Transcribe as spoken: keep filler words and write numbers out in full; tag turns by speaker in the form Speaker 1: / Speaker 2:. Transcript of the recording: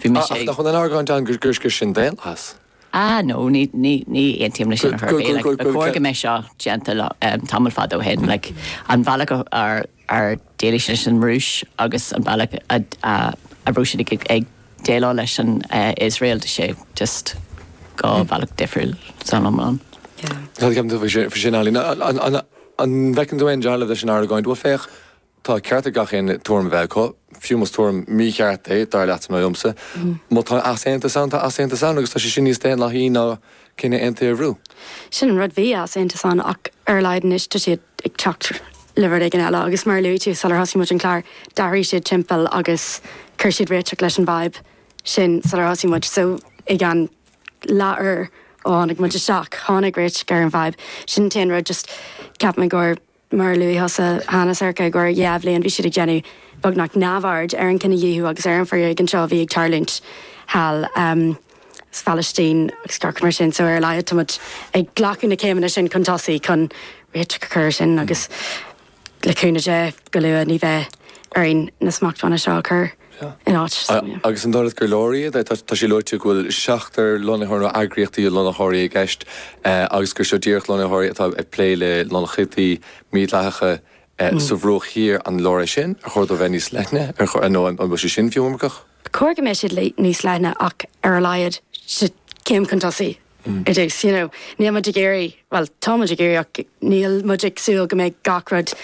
Speaker 1: Bhí mise
Speaker 2: Ach nach bhfuil an argóint ann gur gur sin daonlathas.
Speaker 1: Ah no ní ní ní aontaím leis sin
Speaker 2: Go- go- go- go-
Speaker 1: Ba chóir go mbeadh seo déanta um, tamall fada ó shin like, an bealach ar ar déileáil leis an Rúis agus an bealach a a a raibh siad ag ag déileáil leis an uh, Israel de sé just dhá bhealach difriúil san iomlán.
Speaker 2: Tá ceapann tú faoi sin Ailín an bhfeiceann tú aon dealramh leis an argóint bhfuil féach tá ceart ag gach aon tuairim bheith acu, fiú más tuairim mícheart é dar leat nó liomsa. Má tá easaontas ann tá easaontas ann agus tá sé sin níos daonlathaí ná cinne aontaithe a bhrú.
Speaker 3: Sin an rud bhí easaontas ann ach ar a laghad anois tá siad ag teacht le rud éigin eile agus mar luaigh tú sular thosaigh muid an clár d'athraigh siad timpeall agus chuir siad réiteach leis an bhfadhb sin sular thosaigh muid so ag an leathuair ó tháinig muid isteach tháinig réiteach ar an bhfadhb sin an rud just ceapaim gur mar luaigh thusa cheana Sorcha gur dhá bhliain bhí siad ag déanamh beagnach neamhaird ar an cinedhíothú agus ar an bhforéigean seo bhí ag tarlúint thall um, sa Phalaistín agus gach mar sin so ar a laghad táimid ag glacadh na céimeanna sin chun tosaigh chun réiteach a chur sin agus le cúnamh Dé go luath ní bheidh orainn na smachtbhannaí seo a chur in áit. So, yeah.
Speaker 2: Agus an dóigh gur leor iad tá sé luaite go bhfuil seachtar lonnaitheoir nó eagraíochtaí lonnaitheoirí i gceist agus gur seo díreach lonnaitheoirí atá ag plé le lonnaíochtaí mídhleathacha sa Bhruach Thiar an leor é sin ar chóir dó bheith níos leithne ar nó an bhfuil sé sin fiú iomarcach?
Speaker 3: Cóir go mbeidh siad níos leithne ach ar a laghad céim chun tosaigh. It is, you know, níl muid ag iarraidh, well tá muid ag iarraidh ach níl muid ag súil go mbeidh gach rud